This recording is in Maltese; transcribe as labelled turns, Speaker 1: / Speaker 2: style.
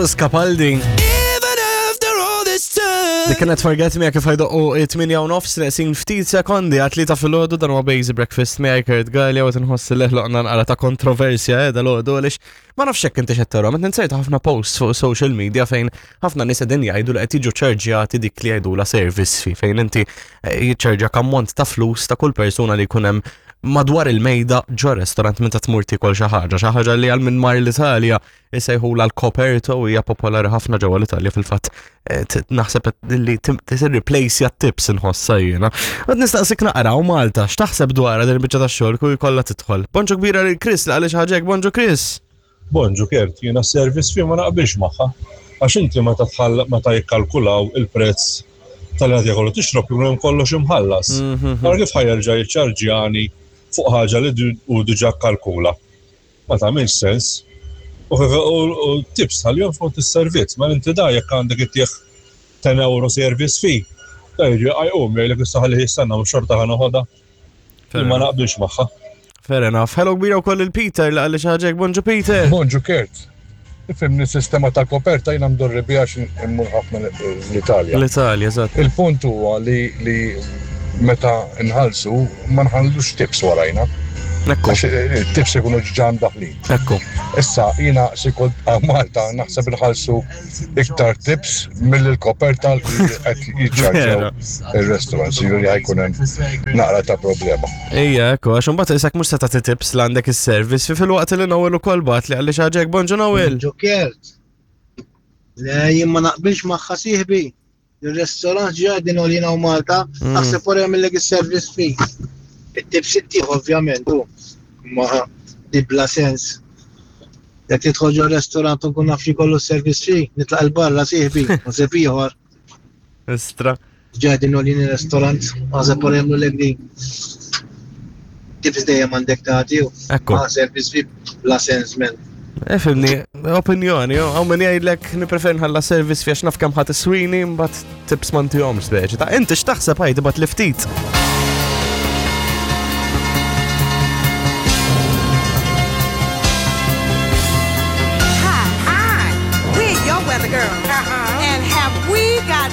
Speaker 1: Lewis Capaldi. Dik kienet Forget Me kif ħajdoqqu 8 u nofs neqsin ftit sekondi għat ta' filgħodu dan huwa Basic Breakfast miegħi Kurt Gallia u tinħoss li ħloqna nqara ta' kontroversja eh, dal-għodu għaliex ma nafx hekk inti xed tara, meta ninsejt ħafna posts fuq social media fejn ħafna nies qegħdin jgħidu li qed jiġu ċarġjati dik li jgħidula service fee fejn inti eh, jiċċarġja ammont ta' flus ta' kull persuna li jkun hemm madwar il-mejda ġo restaurant meta tmur tiekol xi ħaġa, xi ħaġa li għal minn mar l-Italja isejħula l-coperto u hija popolari ħafna ġewwa l-Italja fil-fatt eh, naħseb li tirreplace tips inħossha jiena. Għad nistaqsik naqra u Malta, x'taħseb dwar din il-biċċa tax-xogħol kull kollha tidħol. Bonġu kbira lil Chris li għaliex ħaġek, bonġu Chris.
Speaker 2: Bonġu Kert, jiena s-service fee ma naqbilx magħha. Għax inti meta tħall meta jikkalkulaw il-prezz tal-li qed jieħu tixrob jkun hemm kollox imħallas. Mhm. Ara kif ħajerġa' jiċċarġjani fuq ħaġa li hu diġà kkalkula. Ma tagħmilx sens. U tips tħallihom skont is-servizz, ma inti da jekk għandek ittieħ 10 euro service fee, da jiġi għajqum jgħidlek issa ħalli jistenna mhux xorta ħa noħodha. Ma naqbilx magħha.
Speaker 1: Fair enough. Hello kbira wkoll il-Peter li qalli xi ħaġa Bonġu Peter.
Speaker 2: Bonġu Kurt. Ifimni sistema ta' koperta jiena mdorri biha għax immur ħafna l-Italja.
Speaker 1: L-Italja, eżatt.
Speaker 2: Il-punt huwa li li meta nħallsu ma nħallux tips warajna.
Speaker 1: Ekku.
Speaker 2: Għax eh, tips ikunu ġġa mdaħlin.
Speaker 1: Ekku.
Speaker 2: Issa jiena se kont Malta naħseb inħallsu iktar tips mill-koperta li qed jiċċarġaw ir-restaurants, jiġifieri ħajkun hemm naqra ta' problema.
Speaker 1: Ejja, ekku, għax imbagħad isek mhux se tagħti tips l għandek is-service fi filwaqt li Noel ukoll bagħat li għalli xi ħaġa hekk bonġu Noel.
Speaker 3: Ġokert. Le, jien ma naqbilx magħha sieħbi. Il-restaurant ġi għadin għolina u Malta, mm. naħseb wara jagħmillek is-service fee. It-tips ittieħ ovvjament, u ma di bla sens. Jekk tidħol ġo restaurant u nkun naf li kollu service fee, nitlaq il-barra sieħbi, naħseb ieħor.
Speaker 1: Istra.
Speaker 3: Ġadin għolin il-restaurant, naħseb wara jagħmlu lek din. Tips dejjem għandek tagħti u.
Speaker 1: Ekku.
Speaker 3: Ma service fee bla sens men.
Speaker 1: Efimni, eh, opinjoni, għaw min jgħidlek niprefer nħalla service fiex naf kemm ħadd iswini, mbagħad tips ma ntihomx speċi. Ta' inti x'taħseb ħajti bat li ftit.
Speaker 4: Hi. Hi. We're your weather girl. Uh-huh. And have we got